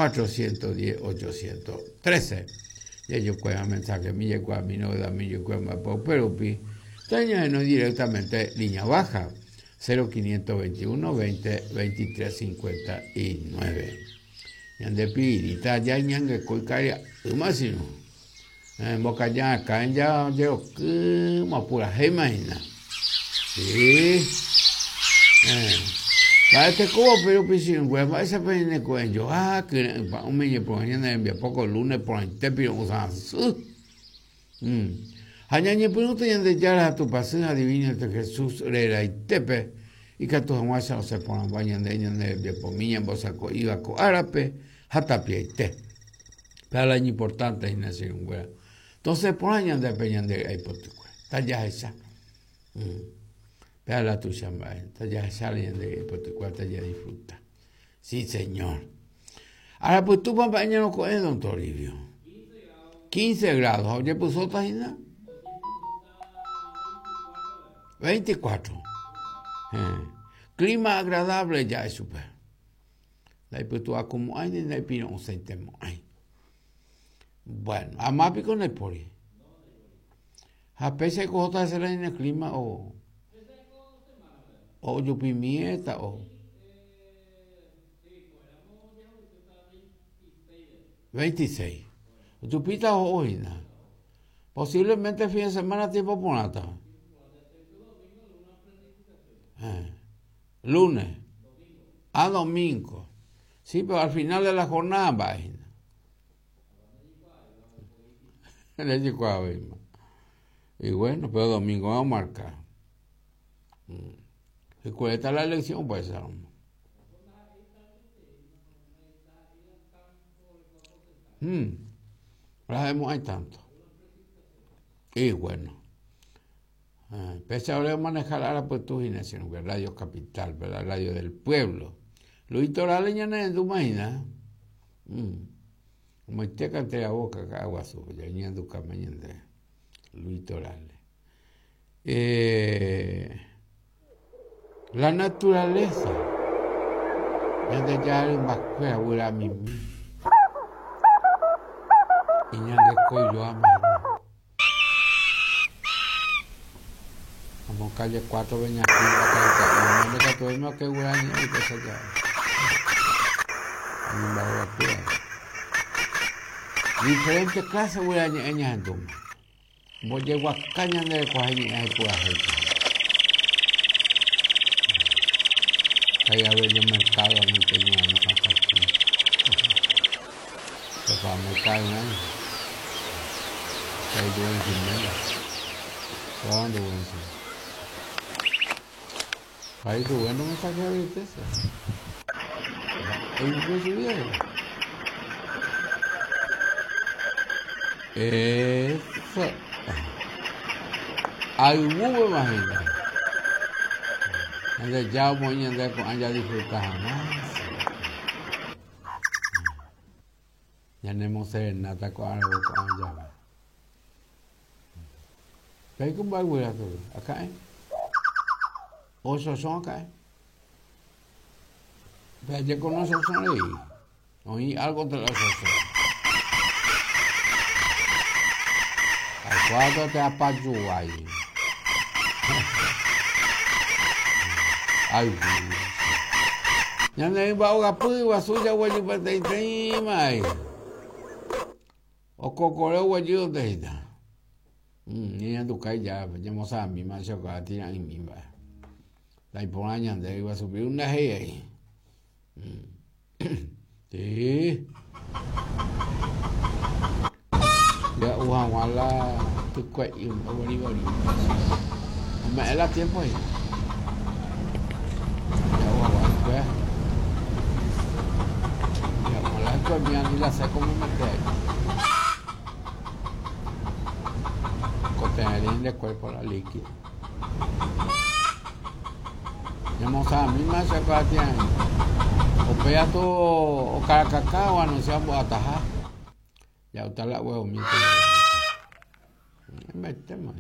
410 813. Jajokuaa mensajemi jaikuaami novedadmi jaikuaa mba'épa upe rupi tañahenói directamente línea baja 0521 20 23 59. Ñande pirĩta jaiñangekói karia'ýma sino mbokaja akã jerokýma opurahéima hína. Sí. Mba'etekóva upe rupi che irũnguéra, mba'éichapa ñaneko'ẽjoa kyre'ỹ pa'ũme ñepyrũha ñane rembiapo ko lunes porãite piro'ysã asy. Ha ñañepyrũta Ñandejára ha Tupãsy ha Divino de Jesús reraitépe ikatu hag̃uáicha osẽ porãmba ñande ñane rembiapomi ñambosako'íva ko árape ha tapiaite. Péva la iñimportánte hína che irũnguéra. Tosẽ porã ñandépe ñande ry'ái potykue. Tajahecha. Péva la tuicha mba'e. Tajahecha la ñande ry'ái potykue ha tajadisfruta. Sí, señor. Arapytúpa mba'e ñaroko'ẽ, don Toribio? 15 grados. Ha ojepysóta hína? 24. Eh. Clima agradable ja'e chupe. Ndaipytu'akumo'ãi ni ndaipiro'ysãitemo'ãi. Bueno, ama piko ndaipóri. Ha péicha oikóta hese la ñane clima o ojupimiéta o 26. Ojupíta oho hína. Posiblemente fin de semana tiempo porãta. Eh. Lunes a domingo. Sí, pero al final de la jornada mba'e hína. Rejekuaavéima. Y bueno, pero domingo va a marcar. Mm. ¿Y cuál está la elección? Pues, mm. No hay tanto. Y bueno. Eh, pese ahora manejar ahora pues tú sino que Radio Capital, la radio del pueblo. Luis Torales ya no imagina. Mm. Omoite cantera boca Ka'aguasu, ñañandukáma ñande Luis Torales. Eh, la naturaleza, Ñandejára rymbakuéra guyramimi iñangekoijoáma hína. Amo calle 4 Beñaquín Bacaica'i, ñande katu oime oke guyra ñe'ẽ upéicha jave. Oñemba'evakuéra. Diferente clase guyra ñe'ẽ ñahendúma. Mbojeguaka ñande rekuahe ñe'ẽ ha ipurahéipe. Kai Abelio Mercado añoite ñe'ẽ Santa Cruz. Pepa mercado ñe'ẽ. Kai Rubén Jiménez. Toda Rubén sí. Kai Rubén no me saqué ahorita ese. Eso. Ayvúpe imagina. Ñandejára omoĩ ñande ko'ã jadisfruta hag̃ua. Ñanemoserenáta ko aravo ko'ã jave. Peiko mba'e guyra tory, aka'ẽ. Ochosõ aka'ẽ. Pe ajeko no ochosõ rei. Oĩ algo entre la ochosõ. Aikuaáta te apajuái. Ayvu. Ñane rymba ogapy guasu jaguejy peteĩteĩma ai. Okokore oguejy onde hína. Ñañanduka ijárape, ñamosãmíma chokoa tira'ỹimi mba'e. Ndaiporã ñande ryguasu piru ndahéi ai. Sí. Ja'u hag̃ua la tykue'i oguerivori. Ome'ẽ la tiempo hína. Ja'u hag̃ua hykue. Ja'u hag̃ua la hykue mi ani la seco me mete ahí. Kotevẽ nde cuerpo la líquido. Ñamosãmíma che kuatia'ỹ. Upéi atu okarakaka oanuncia ombo'ataha. Ja'uta la huevomi. Embaitéma.